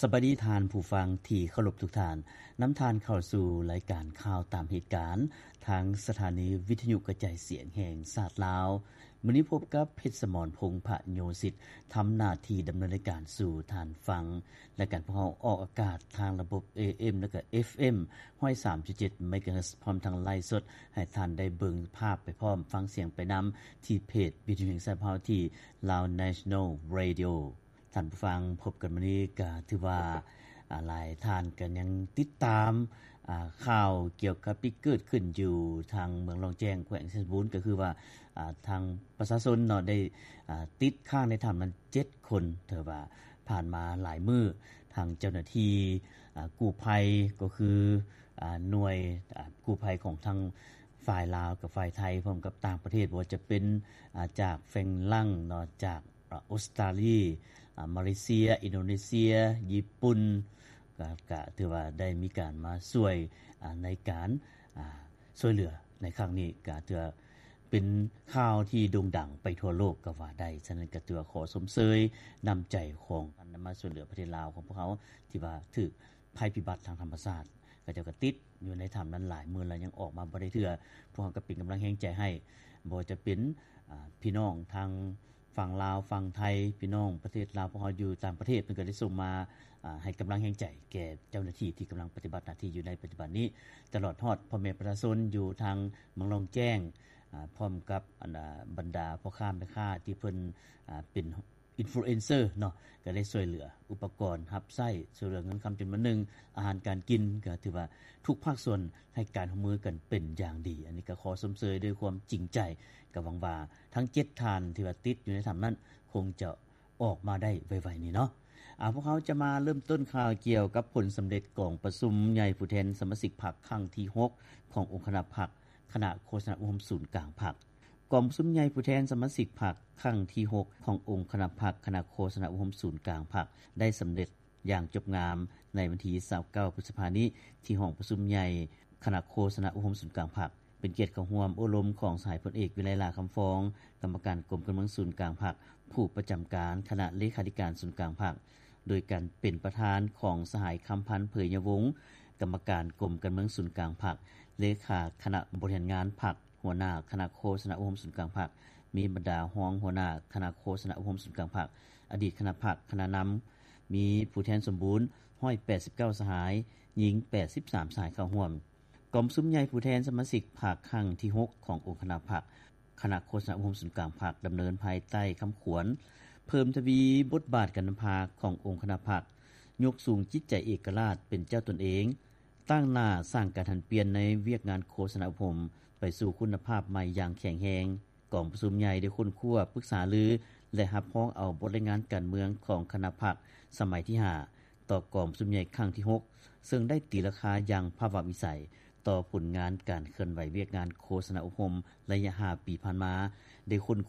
ສະບາຍດີທ່ານຜູ້ຟັງທີ່ເຄົາລົບທຸກທ່ານ, ນຳທ່ານເຂົ້າສູ່ລາຍການຂ່າວຕາມເຫດການ ທາງສະຖານີວິທະຍຸກະຈາຍສຽງແຫ່ງຊາດລາວ. ມື້ນີ້ພົບກັບ ເພັດສະໝອນ ພົງພະໂຍສິດ ທຳໜ້າທີ່ດຳເນີນລາຍການສູ່ທ່ານຟັງ. ລາຍການພວກເຮົາອອກອາກາດທາງລະບົບ ເອເອັມ ແລະກະ ເອັຟເອັມ ຮ້ອຍສາມຈຸດເຈັດ ເມກາເຮີດ ພ້ອມທັງໄລຟ໌ສົດ ໃຫ້ທ່ານໄດ້ເບິ່ງພາບໄປພ້ອມ ຟັງສຽງໄປນຳ ທີ່ເພຈວິທະຍຸແຫ່ງຊາດເຮົາ ທີ່ Lao National Radio. ທ່ານຜູ້ຟັງ, ພົບກັນມື້ນີ້ກໍຖືວ່າ ອາ ຫຼາຍທ່ານກໍຍັງຕິດຕາມ ອາ ຂ່າວກ່ຽວກັບທີ່ເກີດຂຶ້ນຢູ່ທາງເມືອງລ້ອງແຈ້ງ ແຂວງໄຊສົມບູນ ກໍຄືວ່າ ອາ ທາງປະຊາຊົນເນາະ ໄດ້ ອາ ຕິດຄ້າງໃນຖ້ຳນັ້ນເຈັດຄົນ. ຖືວ່າຜ່ານມາຫຼາຍມື້ ທາງເຈົ້າໜ້າທີ່ ອາ ກູ້ໄພ ກໍຄື ອາ ໜ່ວຍ ອາ ກູ້ໄພຂອງທັງຝ່າຍລາວກັບຝ່າຍໄທ ພ້ອມກັບຕ່າງປະເທດ ບໍ່ວ່າຈະເປັນ ອາ ຈາກຝຣັ່ງເນາະ ຈາກ ອາ ອົດສະຕາລີ ອາ ມາເລເຊຍ ອິນໂດເນເຊຍ ຍີ່ປຸ່ນ ກໍ ກໍຖືວ່າໄດ້ມີການມາຊ່ວຍ ອາ ໃນການ ອາ ຊ່ວຍເຫຼືອໃນຄັ້ງນີ້ ກໍຖືວ່າເປັນຂ່າວທີ່ໂດ່ງດັງໄປທົ່ວໂລກກໍວ່າໄດ້. ສະນັ້ນກໍຖືວ່າຂໍຊົມເຊີຍນ້ຳໃຈຂອງທ່ານມາຊ່ວຍເຫຼືອປະເທດລາວຂອງພວກເຮົາ ທີ່ວ່າຖືກໄພພິບັດທາງທຳມະຊາດ. ເຂົາເຈົ້າກໍຕິດຢູ່ໃນຖ້ຳນັ້ນຫຼາຍມື້ແລ້ວ ຍັງອອກມາບໍ່ໄດ້ເທື່ອ. ພວກເຮົາກໍເປັນກຳລັງແຮງໃຈໃຫ້ ບໍ່ວ່າຈະເປັນ ອາ ພີ່ນ້ອງທາງ ຝັ່ງລາວ ຝັ່ງໄທ ພີ່ນ້ອງປະເທດລາວ ພວກເຮົາຢູ່ຕ່າງປະເທດ ເພິ່ນກໍໄດ້ສົ່ງມາ ອາ ໃຫ້ກຳລັງແຮງໃຈແກ່ເຈົ້າໜ້າທີ່ທີ່ກຳລັງປະຕິບັດໜ້າທີ່ຢູ່ໃນປັດຈຸບັນນີ້ ຕະຫຼອດຮອດພໍ່ແມ່ປະຊາຊົນຢູ່ທາງເມືອງລ້ອງແຈ້ງ ອາ ພ້ອມກັບ ອັນ ອາ ບັນດາພໍ່ຄ້າແມ່ຄ້າທີ່ເພິ່ນ ອາ ເປັນ ອິນຟລູເອັນເຊີເນາະ ກໍໄດ້ຊ່ວຍເຫຼືອອຸປະກອນຮັບໃຊ້ ຊ່ວຍເຫຼືອເງິນຄຳຈຳນວນໜຶ່ງ ອາຫານການກິນ ກໍຖືວ່າທຸກພາກສ່ວນໃຫ້ການຮ່ວມມືກັນເປັນຢ່າງດີ. ອັນນີ້ກໍຂໍຊົມເຊີຍດ້ວຍຄວາມຈິງໃຈ ກໍຫວັງວ່າທັງເຈັດທ່ານທີ່ວ່າຕິດຢູ່ໃນຖ້ຳນັ້ນ ຄົງຈະອອກມາໄດ້ໄວໆນີ້ເນາະ. ອາ ພວກເຮົາຈະມາເລີ່ມຕົ້ນຂ່າວກ່ຽວກັບຜົນສຳເລັດກອງປະຊຸມໃຫຍ່ຜູ້ແທນສະມາຊິກພັກຄັ້ງທີຫົກ ຂອງອົງຄະນະພັກ ຄະນະໂຄສະນາອົບຮົມສູນກາງພັກ. ກອງປະຊຸມໃຫຍ່ຜູ້ແທນສະມາຊິກພັກຄັ້ງທີຫົກ ຂອງອົງຄະນະພັກ ຄະນະໂຄສະນາອົບຮົມສູນກາງພັກ ໄດ້ສຳເລັດຢ່າງຈົບງາມໃນວັນທີຊາວເກົ້າ ພຶດສະພານີ້ ທີ່ຫ້ອງປະຊຸມໃຫຍ່ຄະນະໂຄສະນາອົບຮົມສູນກາງພັກ ເປັນກຽດເຂົ້າຮ່ວມໂອ້ລົມຂອງສະຫາຍພົນເອກ ວິໄລ ຫຼ້າຄຳຟອງ ກຳມະການກົມການເມືອງສູນກາງພັກ ຜູ້ປະຈຳການຄະນະເລຂາທິການສູນກາງພັກ ໂດຍການເປັນປະທານຂອງສະຫາຍ ຄຳພັນ ເຜີຍຍະວົງ ກຳມະການກົມການເມືອງສູນກາງພັກ ເລຂາຄະນະບໍລິຫານງານພັກ ຫົວໜ້າຄະນະໂຄສະນາອົບຮົມສູນກາງພັກ, ມີບັນດາຮອງຫົວໜ້າຄະນະໂຄສະນາອົບຮົມສູນກາງພັກ, ອະດີດຄະນະພັກ, ຄະນະນຳ, ມີຜູ້ແທນສົມບູນ ຮ້ອຍແປດສິບເກົ້າ ສະຫາຍ, ຍິງ ແປດສິບສາມ ສະຫາຍເຂົ້າຮ່ວມ. ກອງປະຊຸມໃຫຍ່ຜູ້ແທນສະມາຊິກພັກຄັ້ງທີຫົກ ຂອງອົງຄະນະພັກ ຄະນະໂຄສະນາອົບຮົມສູນກາງພັກ ດຳເນີນພາຍໃຕ້ຄຳຂວັນ ເພີ່ມທະວີບົດບາດການນຳພາຂອງອົງຄະນະພັກ, ຍົກສູງຈິດໃຈເອກະລາດເປັນເຈົ້າຕົນເອງ, ຕັ້ງໜ້າສ້າງການຫັນປ່ຽນໃນວຽກງານໂຄສະນາອົບຮົມໄປສູ່ຄຸນນະພາບໃໝ່ຢ່າງແຂງແຮງ. ກອງປະຊຸມໃຫຍ່ໄດ້ຄົ້ນຄວ້າ, ປຶກສາລື ແລະ ຮັບຮອງເອົາບົດລາຍງານການເມືອງຂອງຄະນະພັກສະໄໝທີຫ້າ ຕໍ່ກອງປະຊຸມໃຫຍ່ຄັ້ງທີຫົກ ເຊິ່ງໄດ້ຕີລາຄາຢ່າງພາວະວິໄສຕໍ່ຜົນງານການເຄື່ອນໄຫວວຽກງານໂຄສະນາອົບຮົມໄລຍະຫ້າປີຜ່ານມາ, ໄດ້ຄົ້ນຄ